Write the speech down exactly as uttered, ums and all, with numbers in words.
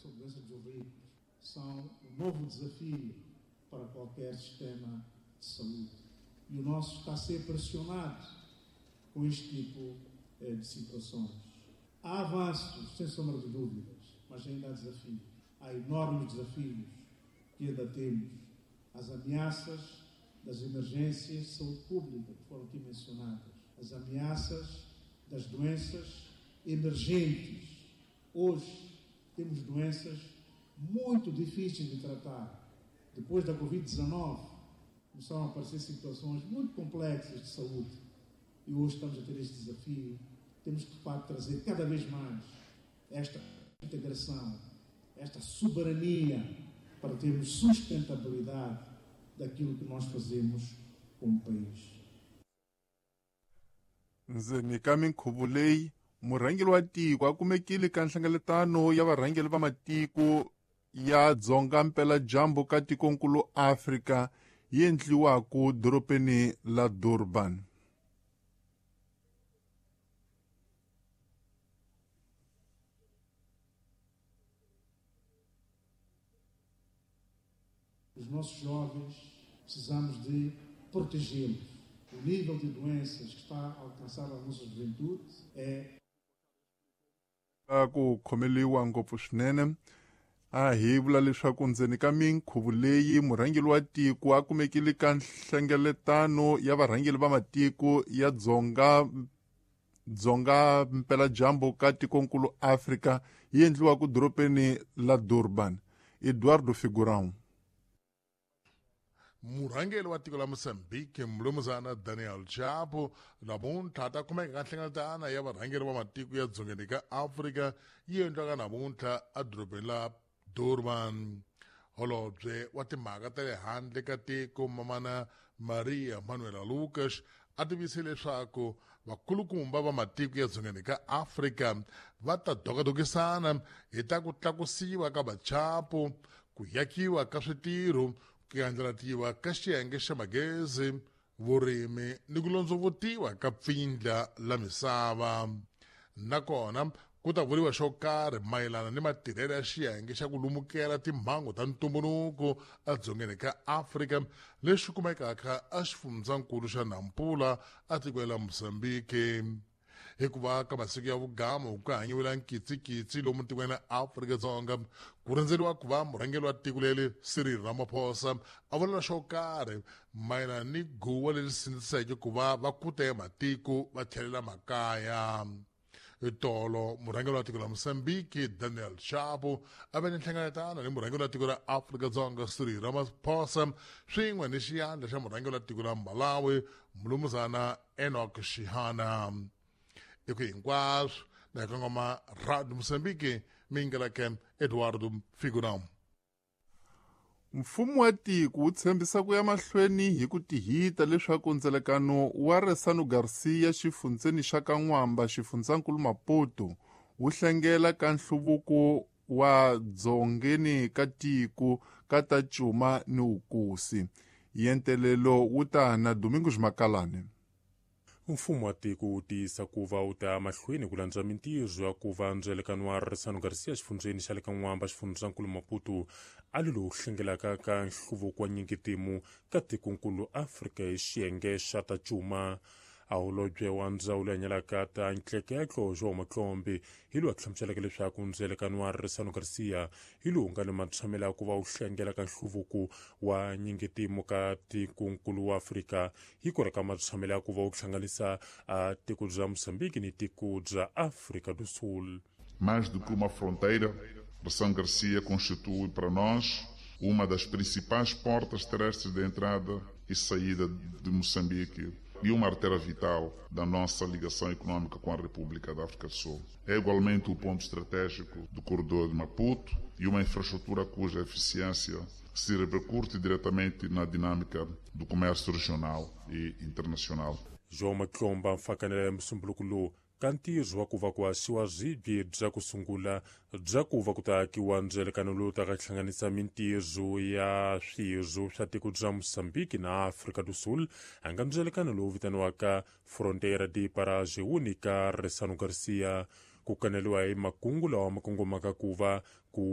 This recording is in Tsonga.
são doenças dos ricos, são um novo desafio para qualquer sistema de saúde. E o nosso está a ser pressionado com este tipo de situações. Há avanços, sem sombra de dúvidas, mas ainda há desafios. Há enormes desafios que ainda temos. As ameaças das emergências de saúde pública, que foram aqui mencionadas, as ameaças das doenças emergentes. Hoje temos doenças muito difíceis de tratar. Depois da covid dezenove, começaram a aparecer situações muito complexas de saúde. E hoje estamos a ter este desafio. Temos que, de facto, trazer cada vez mais esta integração, esta soberania, para termos sustentabilidade daquilo que nós fazemos como país. Ndzeni ka minkhuvo leyi, murhangeri wa tiko a kumekile ka nhlengeletano ya varhangeri va matiko ya Dzonga Mpeladyambu ka tikonkulu Afrika yi endliwaka dorobeni la Durban. Os nossos jovens precisamos de protegê-los. O nível de doenças que está a alcançar a nossa juventude é ku khomeliwa ngopfu swinene. A hi vula leswaku ndzeni ka minkhuvo leyi murhangeri wa tiko a kumekile ka nhlengeletano ya varhangeri va matiko ya Dzonga Dzonga Mpeladyambu ka tikonkulu Afrika yi endliwaka dorobeni la Durban. Eduardo Figurão. Murhangeri wa tiko la Mozambique Mlumuzana Daniel Chapo namuntlha ta kumeka ka nhlengeletano ya varhangeri va matiko ya dzongeni ka Afrika yi endliwaka namuntlha edorobeni la Durban. Holobye wa timhaka ta le handle ka tiko Mamana Maria Manuela Lucas a tivise leswaku vakulukumba va matiko ya dzongeni ka Afrika va ta dokadokisana hi ta ku tlakusiwa ka vachapo, ku yakiwa ka switirho, ku andlalatiwa ka xiyenge xa magezi, vurimi ni ku londzovutiwa ka pfindla la misava. Nakona ku ta vuriwa xo karhi mayelana ni matirhelo ya xiyenge xa ku lumukela timhangu ta ntumbuluko edzongeni ka Afrika lexi kumekaka exifundzankulu xa Nampula etikweni la Mozambique. Hikuva ka masiku ya vugamu ku hanyiwela nkitsikitsi lomu tikweni la Afrika-Dzonga ku rindzeriwa ku va murhangeri wa tiko leri Cyril Ramaphosa a vula xo karhi mayelana ni guwa leri sindziseke ku va va kuta ya matiko va tlhelela makaya. Tolo murhangeri wa tiko la Mozambique Daniel Chapo a ve ni nhlengeletano ni murhangeri wa tiko la Afrika-Dzonga Cyril Ramaphosa swin'we ni xiyandla xa murhangeri wa tiko la Malawi Mlumuzana Enoch Shihana. Eku hinkwaswo na kongoma Radio Mozambique mingeleke Eduardo Figurão. Mfumo wa tiko wu tshembisa ku ya mahlweni hi ku tihita leswaku ndzelekano wa Ressano Garcia xifundzeni xa ka N'wamba xifundzankulu Maputo wu hlengela ka nhluvuko wa dzongeni ka tiko ka ta cuma ni wukusi. Yentelelo wu ta na Domingos Makalane. Mfumo wa tiko wu tiyisa ku va wu ta mahlweni ku landza mintirho ya ku va ndzelekano wa Ressano Garcia xifundzeni xa le ka N'wamba xifundzankulu Maputo a li lowu hlengelaka ka nhluvuko wa nyingitimu ka tikonkulu Afrika hi xiyenge xa ta cuma. A holobye wa ndzawulo ya nyalaka ta ntleketlo João Matlombe hi lowu a hlamuseleke leswaku ndzelekano wa Ressano Garcia hi lowu nga ni matshamelo ya ku va wu hlengela ka nhluvuko wa nyingitimu ka tikonkulu wa Afrika hi ku ri ka matshamelo ya ku va wu hlanganisa a tiko bya Mozambique ni tiko bya África do Sul. Mais do que uma fronteira, Ressano Garcia constitui para nós uma das principais portas terrestres de entrada e saída de Moçambique e uma artéria vital da nossa ligação econômica com a República da África do Sul. É igualmente o ponto estratégico do corredor de Maputo e uma infraestrutura cuja eficiência se repercute diretamente na dinâmica do comércio regional e internacional. João Matlomba mfakanela ya musumbuluko lowu ka ntirho wa ku va ku haxiwa swibye bya ku sungula bya ku va ku ta akiwa ndzelekano lowu ta ka hlanganisa mintirho ya swirho swa tiko bya Mozambique na África do Sul a nga ndzelekano lowu vitaniwaka Fronteira de Parage Única Ressano Garcia. Ku kaneliwa hi makungu lawa ma kongomaka ku va